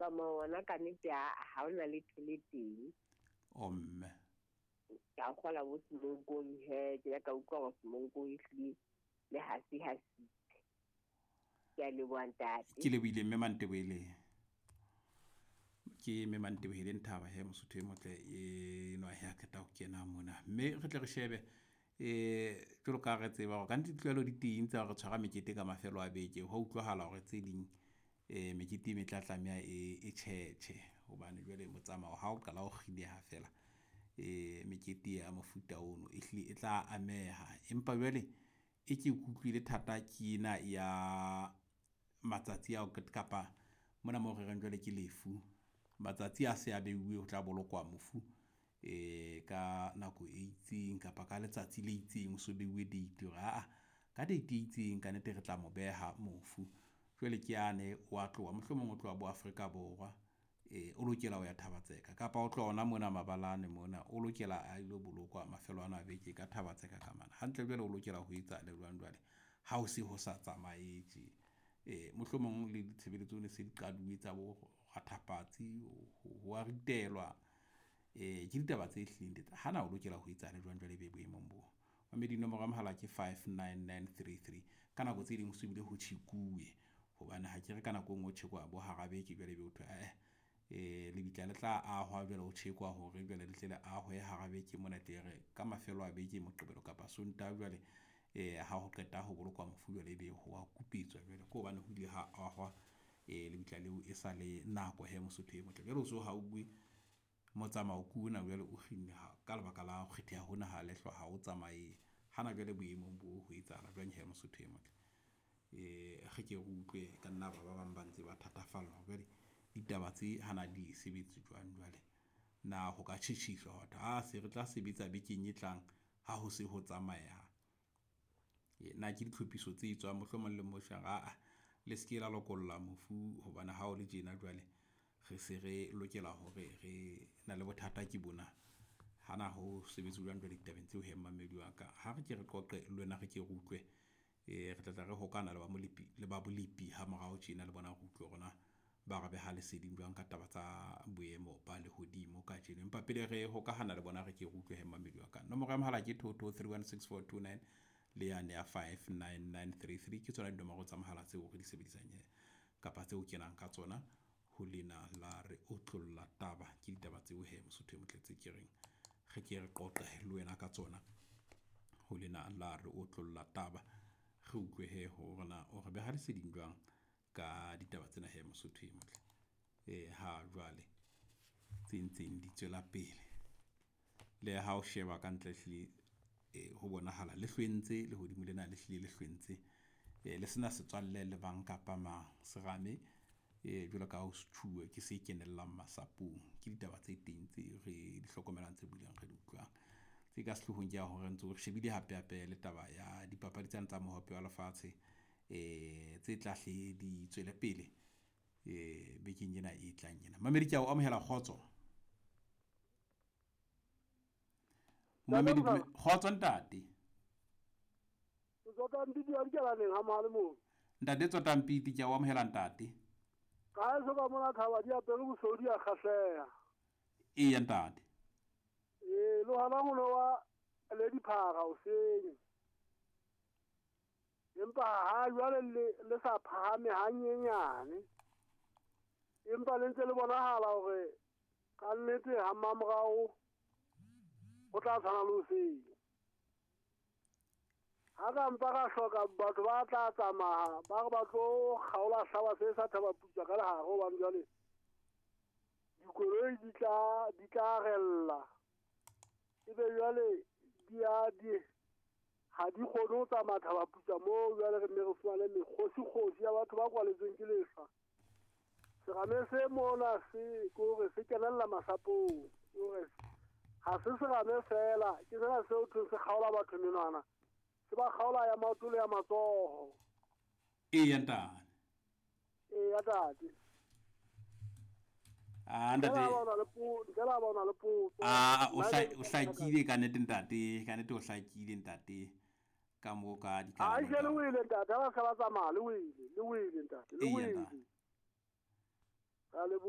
Motsamao wona ka nnete ha ona letho le teng. O mme. Ka kgola bo Semonkong he, ke ile ka utlwa hore Semonkong ehlile le hasi hasitse. Ke a leboha ntate. Ke lebohile mme Manteboele. Ke mme Manteboele Nthaba he Mosotho e motle e nwa he a qeta ho kena mona. Mme re tle re shebe jwalo ka re tseba hore kannete ditlwaelo di teng tsa hore tshwara mekete ka mafelo a beke. Ho utlwahala hore tse ding mekete e metla tlameha e tjhetjhe hobane jwale motsamao ha o qala ho kgineha fela mekete ya mofuta ono e hlile e tla ameha. Empa jwale e ke kutlwile thata ke ena ya matsatsi ao kapa mona moo re reng jwale ke lefu. Matsatsi a se a beuwe ho tla bolokwa mofu ka nako e itseng kapa ka letsatsi le itseng o so beuwe date hore aa ka date e itseng ka nnete re tla mo beha mofu. Jwale ke yane wa tloha mohlomong o tloha bo Afrika Borwa o lokela ho ya Thaba-Tseka kapa o tloha hona mona mabalane mona o lokela a ilo bolokwa mafelo ana a beke ka Thaba-Tseka ka mane. Hantle jwale o lokela ho etsa le jwang jwale ha o se ho sa tsamaye tje. Mohlomong le ditshebeletso ne se di qaduwe tsa bo rathapatsi ho a ritelwa. Ke ditaba tse hlileng hana o lokela ho etsahala jwang jwale ebe boemong bo. Mamedi nomoro ya mohala ke 59933. Ka nako tse ding ho se bile ho tjhekuwe hobane ha ke re ka nako e nngwe ho tjhekwa bo hara beke jwale ebe ho thwe lebitla le tla ahwa jwale ho tjhekwa hore jwale le tle le ahwe hara beke mona tle re ka mafelo a beke Moqebelo kapa Sontaha jwale ha ho qeta ho bolokwa mofu jwale ebe ho a kupetswa jwale ke hobane ho ile ha ahwa lebitla leo e sa le nako he Mosotho e motle. Jwale o so hauwe motsamao ke ona jwale o kginne ka lebaka la ho kgetheha hona ha lehlwa ha o tsamaye. Hana jwale boemong bo ho etsahala jwang he Mosotho e motle. Re ke re utlwe ka nna ba bang ba ntse ba thatafallwa jwale ditaba tse hana di sebetse jwang jwale. Na ho ka tjhetjhiswa hore ha se re tla sebetsa bekeng e tlang ha ho se ho tsamaeha. Na ke ditlhophiso tse etswang mohlomong le mmoshare aa le se ke la lokolla mofu hobane ha o le tjena jwale re se re lokela hore re na le bothata ke bona. Hana ho sebetse jwang jwale ditabeng tseo he mmamedi wa ka. Ha re ke re qoqe le wena re ke re utlwe re tla re hokana le ba molepi le ba bolepi ha morao tjena le bona re utlwe hore na ba re beha leseding jwang ka taba tsa boemo ba lehodimo kajeno. Empa pele re hokahana le bona re ke re utlwe he mmamedi wa ka. Nomoro ya mohala ke 22316429 le yane ya 59933 ke tsona dinomoro tsa mohala tseo re di sebedisang kapa tseo kenang ka tsona ho lena la re otlolla taba. Ke ditaba tseo he Mosotho e motle tse ke reng re ke re qoqe le wena ka tsona ho lena la re otlolla taba. Re utlwe he hore na o re beha leseding jwang ka ditaba tsena he Mosotho e motle. Ha jwale tse ntseng di tswela pele. Le ha o sheba ka ntle hlile ho bonahala le hlwentse lehodimo lena le hlile le hlwentse le sena setswalle le bang kapa mang serame jwalo ka ho sethuwe ke se kenellang masapong. Ke ditaba tse teng tse re di hlokomelang tse bileng re di utlwang. Tse ka sehlohong ke ya hore ntse re shebile hape hape le taba ya dipapadi tsane tsa mohope wa lefatshe tse tla hle di tswele pele bekeng ena e tlang ena. Mamedi ke a o amohela kgotso. Mamedi kgotso ntate. Tsotampiti wa dikelaneng ha mohale moo. Ntate Tsotampiti ke a o amohela ntate. Ka eso ka mona thaba di apere bosodi a kgahleha. Eya ntate. Lo hana ho wa le diphara o seng. Empa ha jwale le sa phahame hanyenyane. Empa le ntse le bonahala hore ka nnete ha mmamorao ho tla tshwana le hoseng. Ha ka mpa ka hloka batho ba tla tsamaya ba re ba tlo kgaola hlawa se sa Thaba Putswa ka lehare hobane jwale dikoloi di tla rella. Ebe jwale ha di kgone ho tsamaya Thaba Putswa moo jwale re nne re fumane mekgosi-kgosi ya batho ba kwaletsweng ke lehlwa. Serame se mona se ke hore se kenella masapong, ke hore ha se serame fela, ke sena seo thweng se kgaola batho menwana. Se ba kgaola ya maoto le ya matsoho. Eya ntate. Eya ntate. Ntate. Ntle la bona le potso. O hlakile ka nnete ntate, ka nnete o hlakile ntate. Ka moo ka dikalamo. Ai le wele ntate, ha ba se ba tsamaya le wele ntate, le wele. Ka leboha.